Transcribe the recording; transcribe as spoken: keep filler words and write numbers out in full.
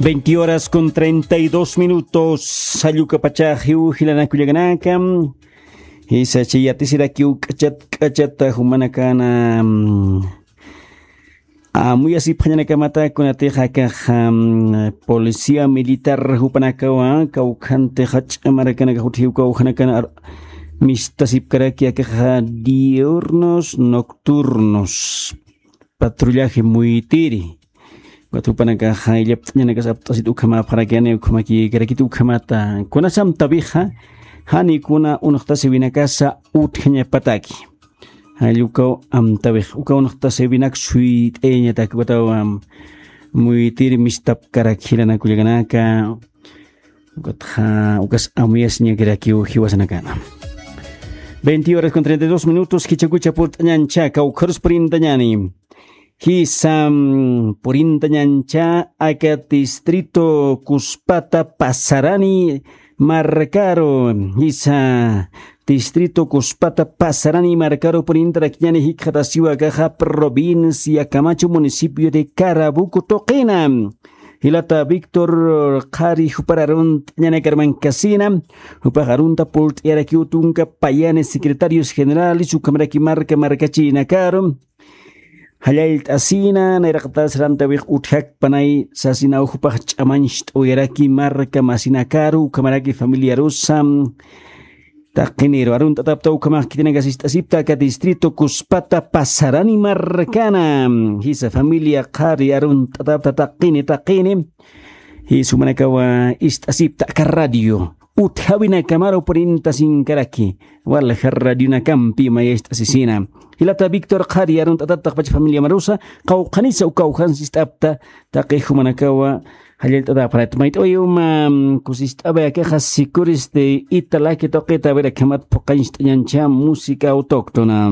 Veinte horas con treinta y dos minutos. Sallukapachaxiw jilanaka kullakanaka. Jisa chay yatisirakiw k'achat k'achata jumanakana, mm, amuyasipxañanakamata kunatixa akax, mm, policía militar jupanakawa kawkhantixa ch'amarakanaka jutjiw kawkhanakana ar-, mistasipkaraki akaxa diurnos nocturnos. Patrullaje muytiri. Ukat jupanakaxa illapt'añanakas apt'asit ukhamäpxarakani, ukhamakïkarakit ukhamata. Kunas amtawixa, jani kuna unxtasiwinakasa utjañapataki. Jall ukaw amtawix, ukaw unxtasiwinak suyt'ayañatak, ukataw, am, muytiri mistapkarak jilanaka kullakanaka. Ukatxa, ukas amuyasiñakirakiw jiwasanakana. Veinte horas con treinta y dos minutos, kichakucha purt'añancha, kawkharus purintañani. Jisa, mm, purintañancha aka distrito Cuspata Pasarani markaru. Jisa, distrito Cuspata Pasarani markaru purintarakiñani jikxatasiwa akaxa provincia Camacho, municipio de Carabuco tuqina. Jilata Víctor Qhari jupar arunt'añanakar mankasina, jupax arunta purt'ayarakiw tunka payani secretarios generales, ukhamaraki marka markachinakaru. Jallallt'asina, nayraqatas amtawix utjakpanay sasinaw jupax ch'amañcht'awayaraki marka masinakaru, ukhamaraki familiarusa. Taqiniru arunt'atapta ukhamax khitinakas ist'asipta aka distrito Cuspata Pasarani markana. Jisa familia Qhari arunt'atapta taqini, taqini. Jisa jumanakawa ist'asipta aka radio utjawinakamaru purintasinkaraki. Walja radionakampi maya ist'asisina. Jilata Víctor Qhari arunt'atapta taqpacha familia marusa, qawqhanisa ukaw jansi ist'apta taqi jumanakawa jallallt'atäpxarat. Mayt'awayi uma, mm, kusist'away akaxa Sicuristi Italaki tuqita, a ver, akhamat phuqañcht'añancha música autóctona.